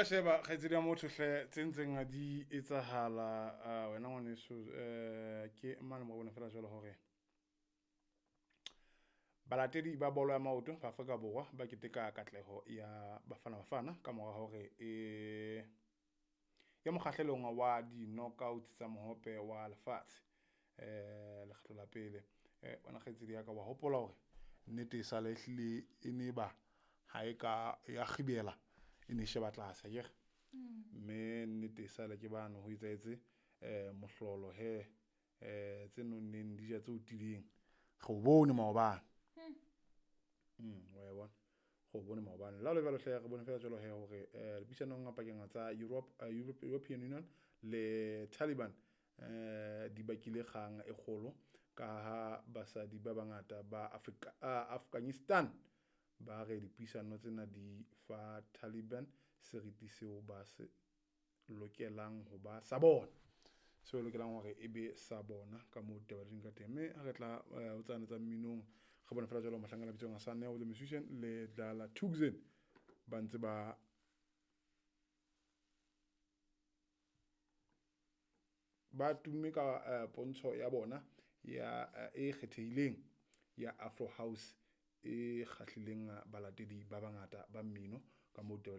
Re sheba kgaitsedi ya motho hle tse ntseng di etsahala, wena ngwaneso, ke mane mo bona fela jwalo hore balatedi ba bolo ya maoto ba Afrika Borwa ba keteka katleho ya Bafana Bafana ka mora hore e ya mokgahlelong wa di-knockouts tsa mohope wa lefatshe lekgetlo la pele. Wena kgaitsedi ya ka, wa hopola hore nnete e sale ehlile e ne ba ha e ka ya kgibela, e ne sheba tlase akere. Mme nnete e sale ke bane ho etsahetse mohlolo hee, tse nonneng di ja tse otileng. Re o bone maobane, wa e bona, re o bone maobane. Le ha hole jwalo hle re bone fela jwalo hee hore dipuisanong pakeng tsa European Union le Taliban di bakile kgang e kgolo ka ha basadi ba bangata ba Afghanistan ba re dipuisano tsena di fa Taliban seriti seo ba se lokelang ho ba sa bona. Seo e lokelang hore e be sa bona ka moo ditaba di leng ka teng. Mme ha re tla ho tsane tsa mminong, re bone fela jwalo mohlankana a bitswang Sanel the Musician le Dlala Thukzin ba ntse ba tumme ka pontsho ya bona ya e kgethehileng ya Afro House e kgahlileng balatedi ba bangata ba mmino ka moo ditaba.